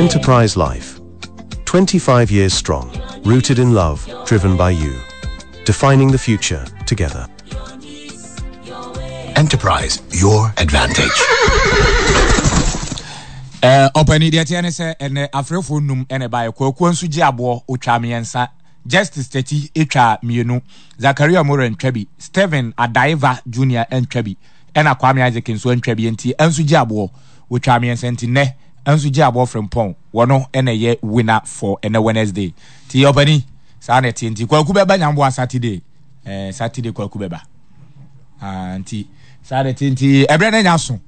Enterprise Life. 25 years strong, rooted in love, driven by you. Defining the future together. Enterprise, your advantage. Eh, ɔpani deɛ teɛ ne sɛ ɛnɛ afrɛfoɔ num ɛna ɛbaeɛ kwakuo nso gye aboɔ ɔtwa mmiɛnsa justice tati ɛtwa mmienu zakaria mora ntwa bi stephen adaiva junior ntwa bi ɛna kwame isaac nso ntwa bi nti ɛnso gye aboɔ wɔtwa mmiɛnsa nti nnɛ ɛnso gye aboɔ frempɔn wɔno ɛna ɛyɛ winner for ɛnɛ wednesday nti ɔpani saa na ɛteɛ nti kwaku bɛba nyamboa saturday eh, saturday kwaku bɛba ah, nti saa de te nti ɛberɛ no anya so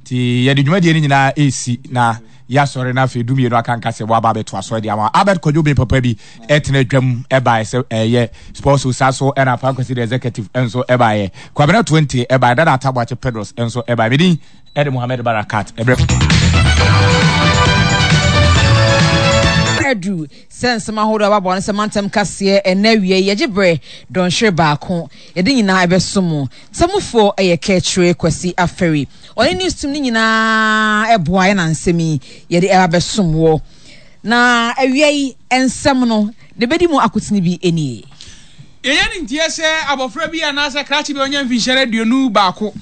nti yɛde dwumadie no nyinaa ɛsi na yɛasɔre no afei dumienu aka nka sɛ wɔaba abɛto asɔre de ama albert kwadwo ben papa bi ɛtena adwam ɛbaeɛ sɛ ɛyɛ sports sa so ɛna afa kwasi the executive nso ɛbaeɛ kwabena 20 ɛbaeɛ dada ataboakye pedros nso ɛbaeɛ medin ɛde mohammed barakat ɛberɛ adu Sɛ nsɛm ahodoɔ a wɔaboa no sɛ mantam kaseɛ ɛnnɛ awia yi yɛgye berɛ dɔnhwere baako yɛde nyinaa ɛbɛso mo. Tamufoɔ yɛ Kɛkyire Kwasi Afari ɔne news team no nyinaa ɛboa yɛ na nsɛm yi yɛde ɛba bɛsom wɔ. Na awia yi nsɛm no deɛ ɛbɛdi mu akotene bi nie. Yɛnya ne nteɛ sɛ abɔfra bi anaasɛ krakye bi a ɔnya mfinhyia 21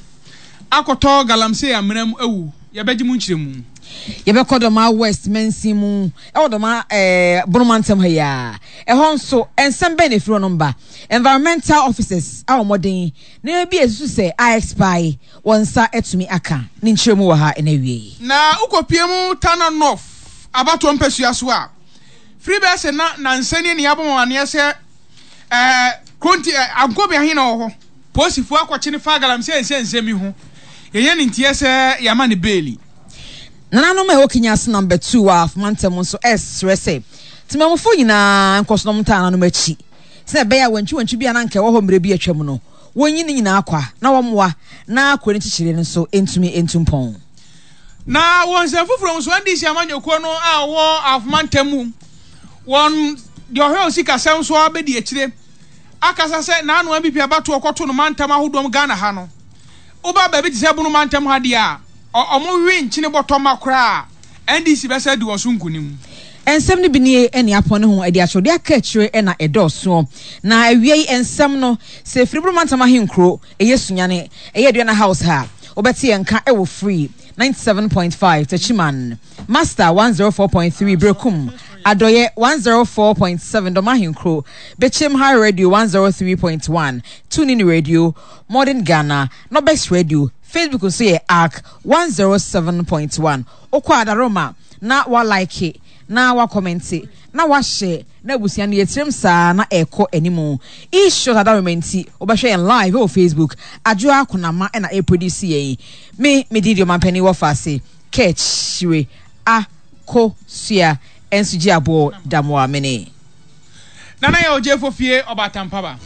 akɔtɔ galamsey amena mu awu. Yɛbɛgye mu nkyerɛmu. Yɛbɛkɔ Dɔmaa West mansin mu wɔ Dɔmaa eh, Bono mantam ha yi ara. Ɛhɔ nso, nsɛm bɛn na ɛfiri hɔnom ba? Environmental officers abɔ mmɔden nneɛma bi a ɛsusu sɛ a expire wɔn nsa atumi aka. Ne nkyerɛmu wɔ ha ɛnnɛ awia yi. Na wokɔpue mu Tana North abatoɔ mpasua so a, firi bɛyɛ sɛ na nansa nie na yɛabɔ mo amaneɛ sɛ eh, Kronti eh, Ankobea he na ɔwɔ hɔ. Polisifoɔ akɔkye no fa galamsey nsɛnsɛm yi ho. Yɛnya ne nteɛ sɛ yɛama no beeli. Nananom a ɛwɔ Kenyasi Number 2 wɔ Ahafo Mantam nso resrɛ sɛ temamufo nyinaa nkɔ so na wɔntaa nananom akyi sɛnea ɛbɛyɛ a wantwiwantwi bi a na anka ɛwɔ hɔ mmere bi a atwam no, wonyi ne nyinaa kwa na wɔmmoa na kuro no nkyekyeree no nso ntumi ntu mpɔn. Na wɔ nsɛm foforɔ mu nso, NDC amanyɔkuo no a wɔwɔ Ahafo Mantam mu, wɔn deɛ ɔhwɛ osikasɛm so abɛdi akyire akasa sɛ n'ano NPP abatoɔ kɔto no mantam ahodoɔ mu Ghana ha no, woba baabi te sɛ Bono mantam ha deɛ a, ɔ wɔwe nkyene bɔtɔ ma koraa a, NDC bɛsa adi wɔn so nkunim. Nsɛm no bi nie, Nea apɔn ne ho adi akyerɛwde aka akyire na ɛdɔɔsoɔ. Na awia yi nsɛm no, sɛ ɛfiri Bono mantam ahenkuro, ɛyɛ Sunyani, ɛyɛ Aduana House ha a, wobɛte yɛn nka wɔ Free 97.5, Techiman. Master 104.3 Berekum, Adɔeɛ 104.7 Dɔm Ahenkuro, Bekyem High Radio 103.1, Tunin Radio, Modern Ghana, Nobex Radio, Facebook nso yɛ Ark 107.1. Wokɔ Adaroma na wa like na wa kɔmɛnte na wa share na abusua no yɛtirim saa na ɛkɔ animu. E-short Adaroma nti wobɛhwɛ yɛn live wɔ Facebook. Adwoa Konama na ɛreproduce yɛn. Me, me din de Ɔmanpanin Wɔfaase. Kɛkyire a ko sua nso gye aboɔ da mo a mene. Nana yɛ ogyefo fie ɔbaatan paba.